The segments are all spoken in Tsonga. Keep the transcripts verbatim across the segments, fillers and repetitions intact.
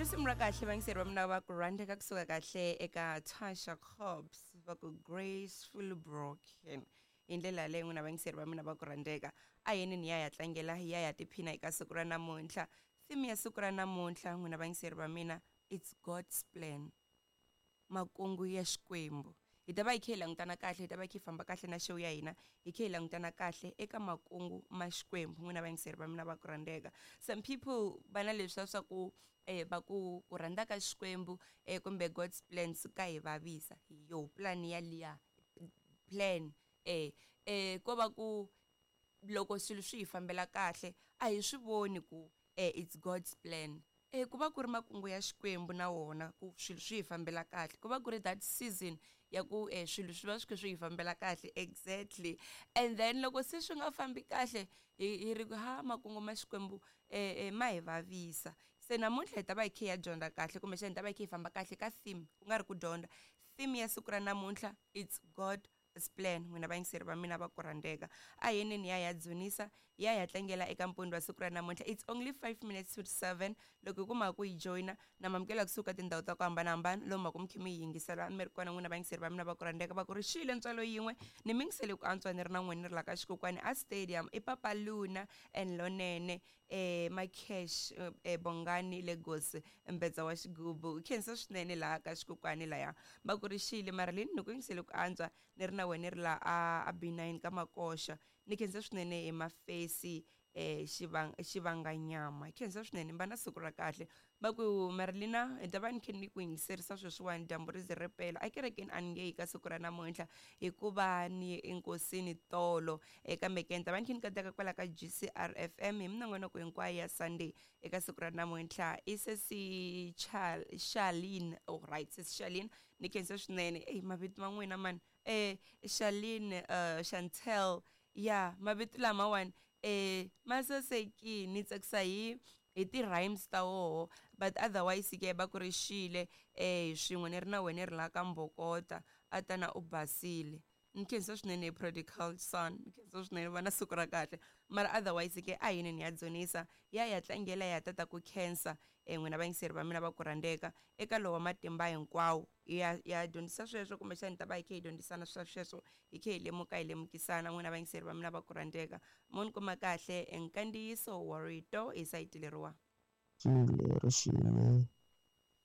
Risimu ra kahle vayingiseri va mina va ku rhandzeka kusuka kahle eka Tasha Cobbs va ku Graceful Broken. Hi ndlela yaleyo n'wina vayingiseri va mina va ku rhandzeka, a yini ni ya ya tlangela hi ya ya tiphina eka siku ra namuntlha. Theme ya siku ra namuntlha n'wina vayingiseri va mina, it's God's plan, makungu ya Xikwembu. Hi ta va hi kha hi langutana kahle, hi ta va hi kha hi famba kahle na show ya hina, hi kha hi langutana kahle eka makungu ma Xikwembu n'wina vayingiseri va mina va ku rhandzeka. Some people va na leswiya swa ku eh va ku ku rhandza ka Xikwembu eh kumbe God's plan swi ka hi vavisa. Yo plan ya liya plan eh eh ko va ku loko swilo swi hi fambela kahle a hi swi voni ku eh it's God's plan. Eh ku va ku ri makungu ya Xikwembu na wona ku swilo swi hi fambela kahle, ku va ku ri that season ya ku eh swilo swi va swi kha swi hi fambela kahle exactly. And then loko se swi nga fambi kahle hi hi ri ku ha makungu ma Xikwembu eh ma hi vavisa. Se namuntlha hi ta va hi kha hi ya dyondza kahle, kumbexana hi ta va hi kha hi famba kahle ka theme, ku nga ri ku dyondza. Theme ya siku ra namuntlha, it's God's plan. N'wina vayingiseri va mina va ku rhandzeka, a yini ni ya ya dzunisa, ya ya tlangela eka mpundzu wa siku ra namuntlha. It's only five minutes to seven. Loko hi kuma ku yi joyina na mamukela kusuka tindhawu ta ku hambanahambana lomu ku mi kha mi yi yingisela mi ri kona n'wina vayingiseri va mina va ku rhandzeka. Va ku ri xile ntswalo yin'we ni mi yingisele ku antswa ni ri na n'wina ni ri la ka xikokwani a stadium i Papa Luna and Lonene eh Makesh eh Bongani Lagos Mbetsa wa xigubu. Khensa swinene laha ka xikokwani laya va ku ri xile Marilyn ni ku yingisele ku antswa ni ri na wena ri la a B nine ka Makoxa. Ni khensa swinene hi mafesi eh xivang xivanganyama. Khensa swinene mba na siku ra kahle. Va ku Marilina hi ta va ni khe ni ku yingiserisa sweswiwani dyambu ri ze ri pela a kerekeni a ni nge yi ka siku ra namuntlha hikuva ni enkosini tolo eka meke ni ta va ni khe ni kateka kwala ka G C R F M hi minongonoko hinkwayo ya Sunday eka siku ra namuntlha. I sesi Charlene, oh right, sesi Charlene ni khensa swinene. Ey mavito ma n'wina mani eh Charlene uh, Chantel ya mavito lamawani eh masasekini ni tsakisa hi hi ti rhymes ta woho, but otherwise ke va ku ri xile eh swin'we ni ri na wena ri la ka Mbokota a tana u basile. Ni khensa swinene prodigal son, ni khensa swinene va na siku ra kahle. Mara otherwise ke a yini ni ya dzunisa ya ya tlangela ya tata ku khensa eh n'wina vayingiseri va mina va ku rhandzeka eka lowa matimba hinkwawo. Ya ya dyondzisa sweswo kumbexana ta va hi kha hi dyondzisana swa sweswo hi kha hi lemuka hi lemukisana n'wina vayingiseri va mina va ku rhandzeka. Mo ni kuma kahle nkandziyiso wa rito hi sayiti leriwa. Xile ri xile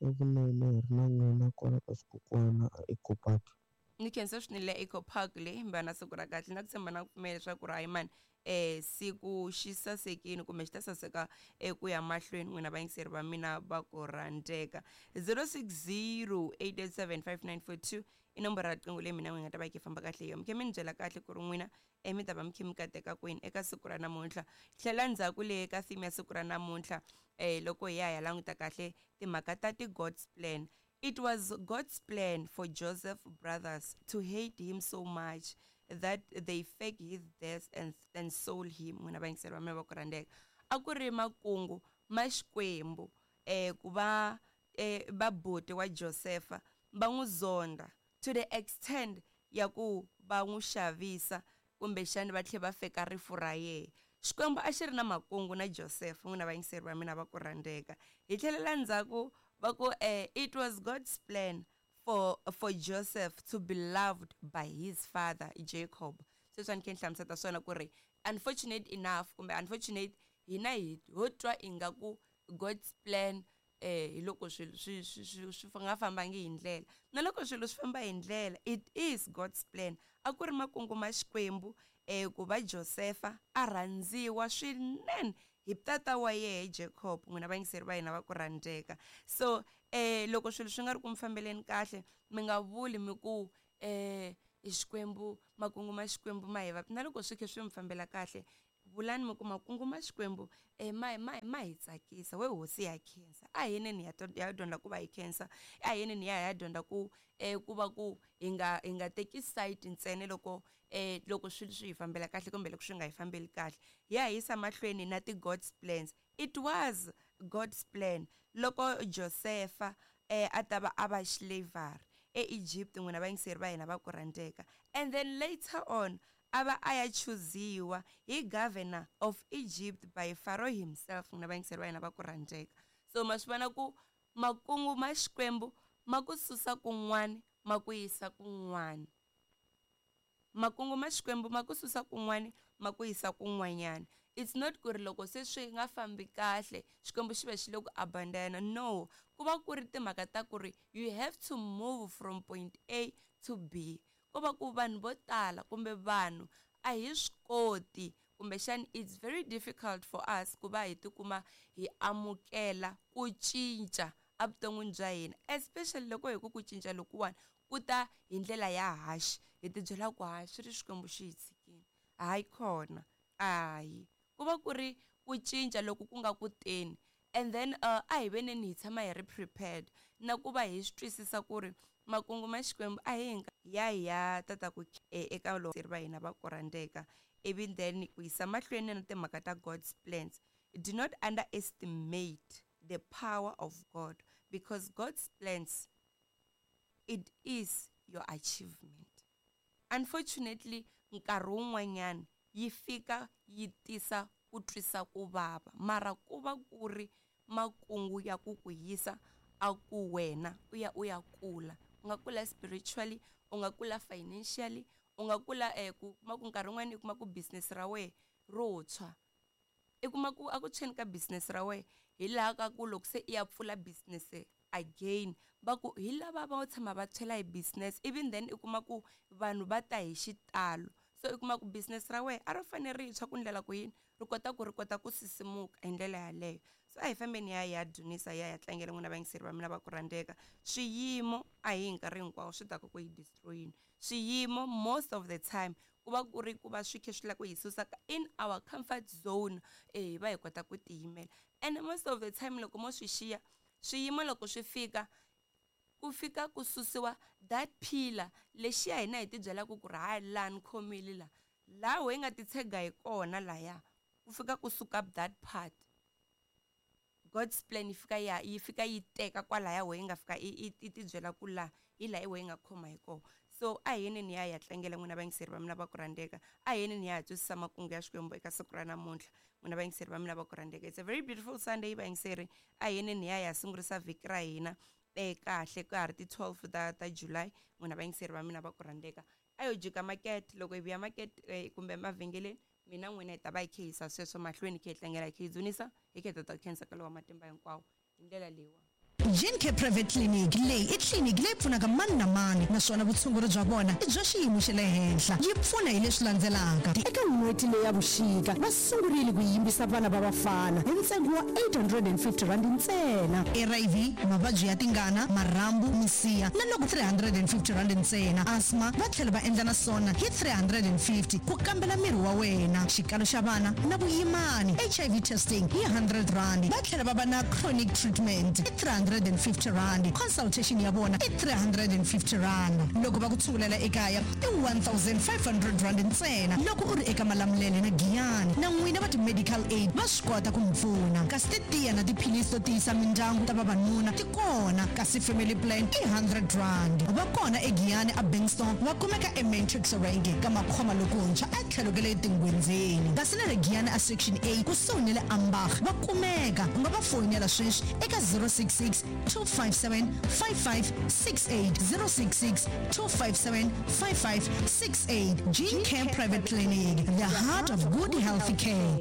evunene hi ri na n'wina kwala ka xikokwana a Eco Park. Ni khensa swinene le Eco Park le mba na siku ra kahle na ku tshemba na ku pfumela leswaku ri hayi mani eh siku xi sasekile kumbe xi ta saseka eku ya mahlweni n'wina vayingiseri va mina va ku rhandzeka. zero six zero eight eight seven five nine four two i nomboro ya riqingho leyi mina n'wi nga ta va yi kha yi famba kahle hi yona. Mi khe mi ni byela kahle ku ri n'wina eh mi ta va mi khe mi kateka kwini eka siku ra namuntlha. Tlhela ndzhaku le ka theme ya siku ra namuntlha eh loko hi ya hi ya languta kahle timhaka ta ti God's plan. It was God's plan for Joseph's brothers to hate him so much that they faked his death and, and sold him. N'wina vayingiseri va mina va ku rhandzeka, a ku ri makungu ma Xikwembu eh ku va eh vabuti wa Josefa va n'wi zonda to the extent ya ku va n'wi xavisa kumbexana va tlhela va feka rifu ra yena. Xikwembu a xi ri na makungu na Joseph n'wina vayingiseri va mina va ku rhandzeka. Hi tlhelela ndzhaku va ku eh it was God's plan for for Joseph to be loved by his father Jacob. Sweswi a ni khe ni hlamusela swona ku ri unfortunate enough kumbe unfortunate hina hi ho twa ingaku God's plan eh hi loko swilo swi swi swi nga fambangi hi ndlela, na loko swilo swi famba hi ndlela it is God's plan. A ku ri makungu ma Xikwembu eh ku va Josefa a rhandziwa swinene hi tata wa yehe Jacob n'wina vayingiseri va hina va ku rhandzeka. So eh loko swilo swi nga ri ku mi fambeleni kahle mi nga vuli mi ku eh Xikwembu makungu ma Xikwembu ma hi va, na loko swi khe swi mi fambela kahle vulani mi ku makungu ma Xikwembu eh ma ma ma hi tsakisa we hosi ya khensa. A hi ni ya ya dyondza ku va hi khensa, a hi ni ya ya dyondza ku eh ku va ku hi nga hi nga teki side ntsena loko eh loko swilo swi hi fambela kahle kumbe loko swi nga hi fambeli kahle. Ya yisa mahlweni na ti God's plans. It was God's plan loko Josefa eh a ta va a va slavery eEgypt n'wina vayingiseri va hina va ku rhandzeka, and then later on a va a ya chuziwa hi governor of Egypt by Pharaoh himself n'wina vayingiseri va hina va ku rhandzeka. So ma swi vona ku Makungu ma Xikwembu ma ku susa kun'wana ma ku yisa kun'wana. Makungu ma Xikwembu ma ku susa kun'wana ma ku yisa kun'wanyana. It's not ku ri loko se swi nga fambi kahle Xikwembu xi va xi le ku abandona. No, ku va ku ri timhaka ta ku ri you have to move from point A to B. Ko va ku vanhu vo tala kumbe vanhu a hi swi koti, kumbexani it's very difficult for us ku va hi tikuma hi amukela ku cinca evuton'wini bya hina, especially loko hi ku ku cinca lokuwani ku ta hi ndlela ya haxi, hi tibyela ku hayi swi ri Xikwembu xi hi tshikile, hayi khona hayi. Ku va ku ri ku cinca loku ku nga ku teni. And then uh, a hi veneni hi tshama hi ri prepared na ku va hi swi twisisa ku ri makungu ma Xikwembu a hi hinga ya hi ya tata ku eka loko va hina va ku rhandzeka. Ivi then ku yisa mahlweni na timhaka ta God's plans. Do not underestimate the power of God, because God's plans, it is your achievement. Unfortunately, nkarhi wun'wanyana yi fika yi tisa ku twisa ku vava, mara ku va ku ri makungu ya ku ku yisa a ku wena u ya u ya kula. U nga kula spiritually, u nga kula financially, u nga kula eh, ku kuma ku nkarhi wun'wani u kuma ku business ra wena ro tshwa. I kuma ku a ku tshweni ka business ra wena hi laha ka ku loko se i ya pfula business again va ku hi lava va tshama va tshwela hi business, even then i kuma ku vanhu va ta hi xitalo. So i kuma ku business ra wena a ro fanele ri tshwa ku ndlela ku yini ri kota ku ri kota ku sisimuka hi ndlela yaleyo. So a hi fambeni ya ya dzunisa ya ya tlangela n'wina vayingiseri va mina va ku rhandzeka. Swiyimo a hi nkarhi hinkwawo swi taka ku hi destroyini. Swiyimo most of the time ku va ku ri ku va swi khe swi lava ku hi susa in our comfort zone, eh hi va hi kota ku tiyimela. And most of the time loko mo swi xiya swiyimo loko swi fika ku fika ku susiwa that pillar lexiya hina hi tibyelaka ku ri hayi laha ni khomile la laha hi nga titshega hi kona laya, ku fika ku suka that part. God's plan yi fika ya yi fika yi teka kwalaya wehe nga fika i tibyela ku laha hi laha wehe nga khoma hi kona. So a hi yeneni ya ya tlangela n'wina vayingiseri va mina va ku rhandzeka, a hi yeneni ya ha twisisa makungu ya Xikwembu eka siku ra namuntlha n'wina vayingiseri va mina va ku rhandzeka. It's a very beautiful Sunday vayingiseri. A hi yeneni ya ya sungurisa vhiki ra hina eh kahle ka ha ri ti twelve ta ta July n'wina vayingiseri va mina va ku rhandzeka. A yo jika market, loko hi vuya market eh, kumbe emavhengeleni mina n'wina hi ta va hi khe yisa sweswo mahlweni hi khe hi tlangela hi khe hi dzunisa hi khe hi ta ta khensa ka lowa matimba hinkwawo hi ndlela leyiwa. Gencare Private Clinic leyi i tliliniki leyi pfunaka mani na mani, naswona vutshunguri bya vona i bya xiyimo xa le henhla. Yi pfuna hi leswi landzelaka. Eka n'hweti leyi ya vuxika va sungurile ku yimbisa vana va vafana hi ntsengo wa eight hundred and fifty rand ntsena. R I V, mavabyi ya tingana, marhambu, misiha na loko three hundred and fifty rand ntsena. Asthma va tlhela va endla na swona hi three hundred and fifty ku kambela miri wa wena. Xikalo xa vana na vuyimani, H I V testing hi hundred rand. Va tlhela va va na chronic treatment hi three hundred and fifty rand. Consultation ya vona i three hundred and fifty rand. Loko va ku tshungulela ekaya i one thousand five hundred rand ntsena. Loko u ri eka Malamulele na Giyani na n'wina va ti-medical aid va swi kota ku mi pfuna. Kasi titiya na tiphilisi to tiyisa mindyangu ta vavanuna ti kona, kasi family plan i hundred rand. Va kona eGiyani a Bankston, va kumeka eMatrix Range ka Makhoma lokuntshwa a tlhelo ka le Tingwenzeni. Kasi na le Giyani a Section A kusuhi na le Ambach va kumeka. U nga va foyinela sweswi eka zero six six two five seven five five six eight, zero six six two five seven five five six eight. Gencare Private Clinic, the heart of good health care.